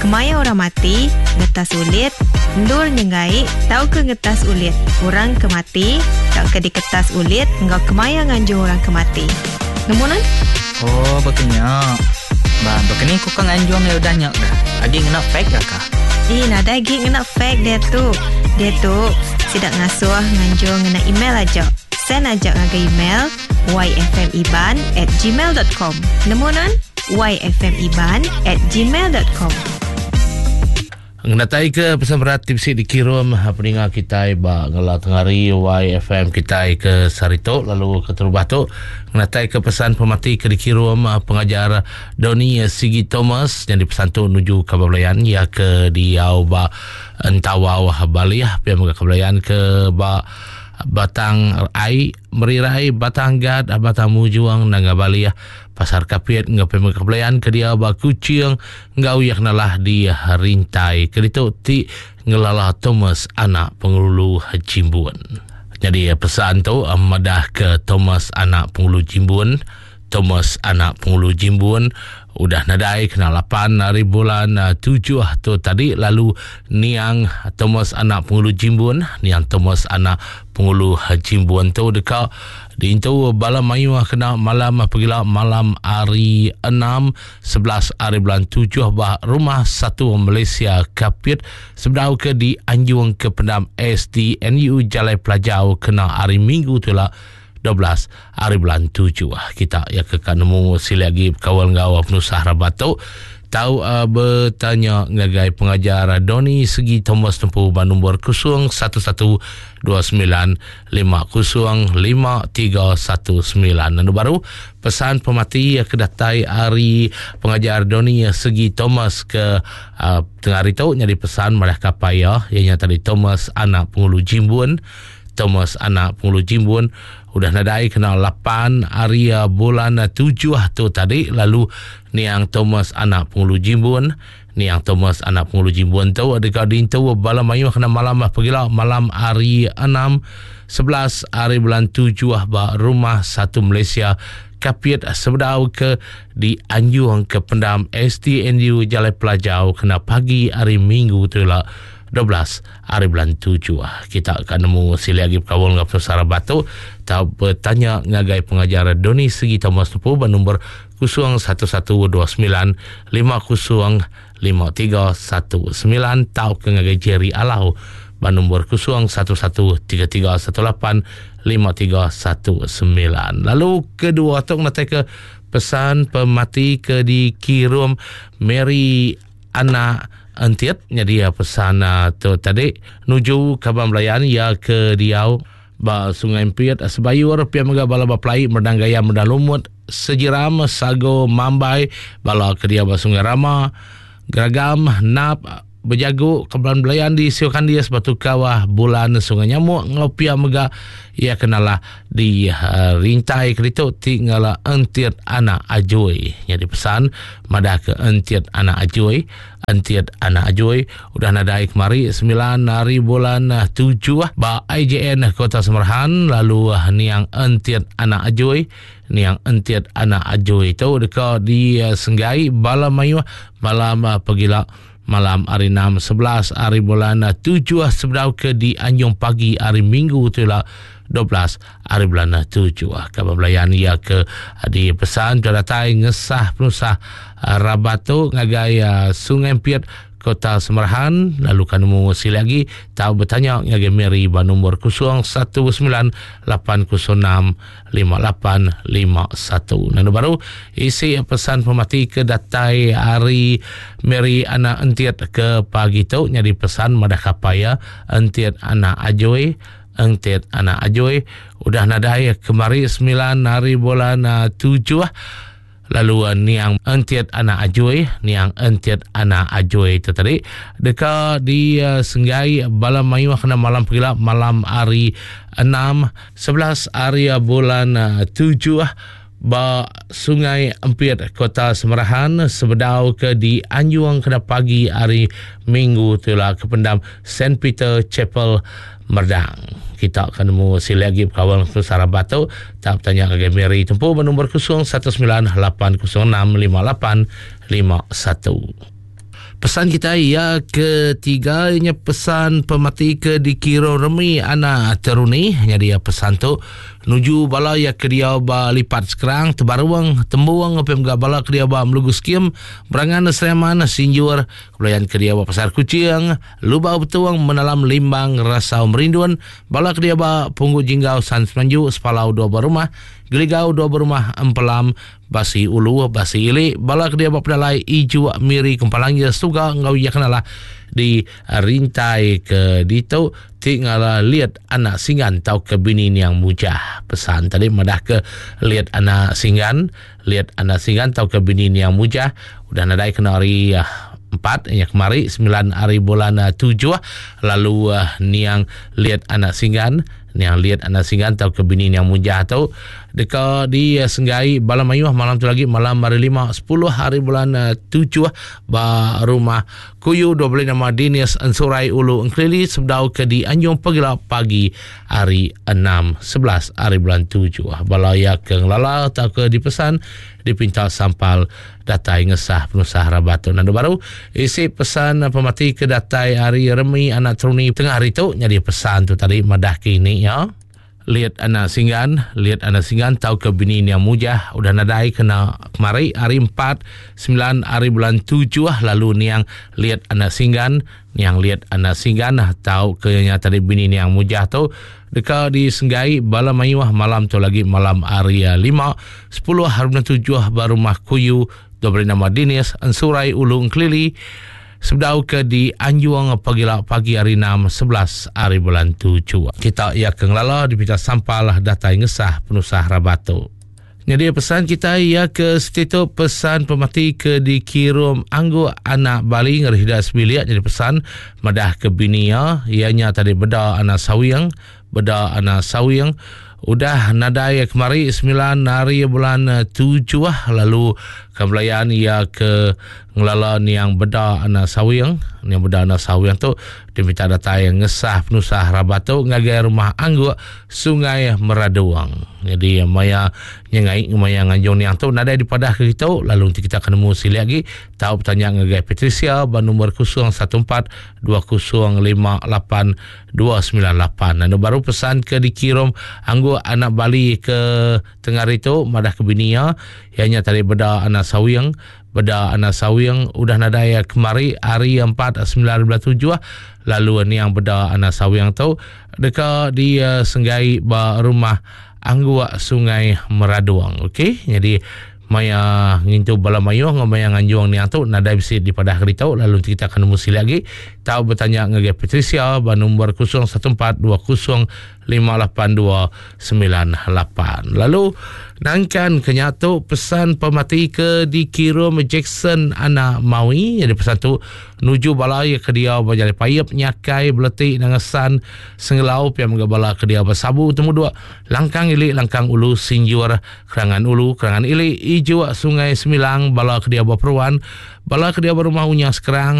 Kemaya orang mati, ngetas ulit, endur nyenggai tauka ngetas ulit orang ke mati tauka diketas ulit enggau kemaya nganjung orang ke mati. Nemu nuan? Oh, baka nya. Ba, baka ni ku ka nganjung iya udah nya ga? Agi ngena fax ga kah? Ih, nadai agi ngena fax diatu. Diatu, sida ngasuh nganjung ngena email aja. Send aja ngagai email yfmiban at gmail dot com. Nemu nuan? yfmiban at gmail dot com. Ngenatai ke pesan berat ti bisi dikirum peninga kitai ba ngela tengari YFM kitai ke sehari tu lalu keterubah tu ngenatai ke pesan pemati ke dikirum pengajar Donny Sigi Thomas nyadi pesan tu nuju kaban belayan iya ke diau ba Entawau Balih pia mega kaban belayan ke ba Batang Ai Merirai Batang Gat Batang Mujung Nanga Balih Pasar Kapit enggau pia mega kaban belayan ke diau ba Kuching Enggau iya kenalah di rintai ke ditu ti ngelala Thomas anak Pengulu Jimbun. Nyadi pesan tu madah ke Thomas anak Pengulu Jimbun, Thomas anak Pengulu Jimbun udah nadai kena lapan hari bulan tujuh tu tadi lalu niang Thomas anak Pengulu Jimbun, niang Thomas anak Pengulu Jimbun tu deka diintu bala mayuh kena malam pegila malam hari enam 11 ari bulan tujuh ba Rumah Satu Malaysia Kapit sebedau ke dianjung ke pendam SDNU Jalai Pelajau kena hari Minggu tu ila 12 ari bulan tujuh. Kita ya ke ka nemu silik agi bekaul enggau penusah rabat tu tau uh, betanya ngagai pengajar Donny Segi Thomas Tempu ba nombor 011 29 50 5319. Lalu baru pesan pemati ke datai ari pengajar Donny Segi Thomas ke uh, tengah hari tu nyadi pesan madah kapai iya iya nya tadi Thomas anak Pengulu Jimbun. Thomas anak Pengulu Jimbun udah nadai kena 8 hari uh, bulan 7 tu tadi lalu niang Thomas anak Pengulu Jimbun Niang Thomas anak Pengulu Jimbun tu deka diintu bala mayuh kena malam pegila malam hari 6 11 hari bulan 7 ba Rumah Satu Malaysia Kapit sebedau ke dianjung ke pendam STNU Jalai Pelajau kena pagi hari Minggu tu ila 12 hari bulan 7. Kita ka nemu silik agi bekaul enggau penusah rabat tu tau betanya ngagai pengajar Donny Segi Thomas Nepu ba nombor 011 29 50 5319 tauka ngagai Jerry Alau ba nombor 011 33 18 5319. Lalu kedua tu ngenatai ke pesan pemati ke dikirum Mary Anak Entit nyadi pesan tu tadi nuju kaban belayan iya ke diau Ba Sungai Empit, Sebayur, pia mega bala ba Pelai, Merdang Gaya, Merdang Lumut, Sejiram, Sago, Mambai, bala ke diau ba Sungai Rama, Geragam, Nap, Bejagu, Kebelan Belayan di Siu Kandis, Batu Kawah, Bulan, Sungai Nyamuk enggau pia mega iya ke nalah di uh, rintai ke ditu ti ngala Entit Anak Ajui. Nyadi pesan madah ke Entit Anak Ajui, Entit Anak Ajui Udah nadai kemari semilan hari bulan tujuh ba IJN Kota Samarahan lalu niang Entit Anak Ajui. Niang Entit Anak Ajui tu deka disenggai bala mayuh malam pegila malam hari 6 11 hari bulan tujuh sebedau ke dianjung pagi hari Minggu tu ila 12 hari bulan tujuh. Kaban belayan iya ke dipesan ke datai ngesah penusah rabat tu ngagai Sungai Empit Kota Samarahan lalu ka nemu silik agi tau betanya ngagai Mary ba nombor 019 806 5851. Lalu baru isi pesan pemati ke datai ari Mary anak Entit ke pagi tu nyadi pesan madah kapai iya Entit anak Ajoi Entit anak Ajoi udah nadai kemari 9 hari bulan 7 Lalu niang Entit anak Ajui, niang Entit anak Ajui tu tadi deka disenggai bala mayuh kena malam pegila malam hari 6 11 hari bulan 7 ba Sungai Empit Kota Semerahan sebedau ke dianjung kena pagi hari Minggu tu ila ke pendam Saint Peter Chapel Merdang. Kita ka nemu silik agi bekaul enggau Sarabat tu, tau betanya ngagai Mary tempu ba nombor 019 806 5851. Pesan kita iya ketiga nya pesan pemati ke dikira remi anak teruni nyadi iya pesan tu nuju bala iya ke diau ba Lipat Skrang Tebarung Tembung pia mega bala ke diau ba Melugu Skim Berangan Sriaman Sinjur Kebelayan ke diau ba Pasar Kuching Lubau Betung Menalam Limbang Rasau Merindun bala ke diau ba Punggu Jinggau San Semanju Sepalau dua buah rumah Geligau dua buah rumah Empelam Basi ulu, basi ili, bala ke dia ba pedalai Ijuk, Miri, Kempalangir, Suga enggau iya kenalah di rintai ke ditu ti ngala liat anak singgan tauka bini niang Mujah. Pesan tadi madah ke liat anak singgan, liat anak singgan tauka bini niang Mujah udah nadai kena hari 4 nya kemari 9 hari bulan 7 lalu niang liat anak singgan Niang Liat Anak Singgan tauka bini Niang Mujah tu deka disenggai bala mayuh malam tu lagi malam hari 5 10 hari bulan 7 eh, ba rumah Kuyu 12 nama Dinis Ensurai Ulu Engkelili sebedau ke di Anjung Pegila pagi hari 6 11 hari bulan 7. Bala iya ke ngelala tauka dipesan dipinta sampal datai ngesah penusah rabat tu. Nandu baru, isi pesan pemati ke datai ari Remi anak Teruni tengah hari tu nyadi pesan tu tadi madah ke ini ya. Liat anak Singgan, liat anak Singgan tau ke bini Nia Mujah udah nadai kena kemari hari 4 9 hari bulan 7 lalu niang liat anak Singgan, niang liat anak Singgan tau ke nya tadi bini niang Mujah tu Deka disenggai bala mayuh malam tu lagi malam hari 5, 10 hari bulan 7 ba rumah Kuyu diberi nama Dinis Ensurai Ulu Engkelili sebedau ke dianjung pagila pagi hari 6, 11 hari bulan 7. Kita iya ke ngelala dipinta sampal datai ngesah penusah rabat tu. Nyadi pesan kitai iya ke siti tu pesan pemati ke dikirum angguk anak Bali ngeri sida sebilik nyadi pesan madah ke bini iya iya nya tadi beda anak Sawing beda anak Sawing udah nadai kemari semilan hari bulan tujuh lalu ke belayan iya ke ngelala niang beda anak Sawing niang beda anak Sawing tu diminta datai ngesah penusah rabat tu ngagai rumah angguk Sungai Meraduang. Jadi maya nyengai maya nganjung niang tu nadai dipadah ke kitu lalu enti kita ke nemu silik agi tau betanya ngagai Patricia ba nombor 014 2058 298. Anu baru pesan ke dikirum anggu anak Bali ke tengah hari tu madah ke bini iya iya nya tadi beda anak Sawing Beda anak Sawing udah nadai kemari hari 4 9 7 lalu niang beda anak Sawing tu deka disenggai ba rumah Angguk Sungai Meradong. Okey, jadi maya ngintu bala mayuh enggau maya nganjung niang tu nadai bisi dipadah ke ditu lalu enti kita ke nemu silik agi tau betanya ngagai Patricia ba nombor 014 20 58298. Lalu nangkan ke nya tu pesan pemati ke dikirum Jackson anak Mawi jadi pesan tu nuju bala iya ke diau ba Jalai Paip Nyakai Beleti Nangesan Sengelau pia mega bala ke diau ba Sabu Temuduk Langkang Ili Langkang Ulu Sinjur Kerangan Ulu Kerangan Ili Ijuk Sungai Semilang bala ke diau ba Peruan bala ke diau ba Rumah Unya Sekerang.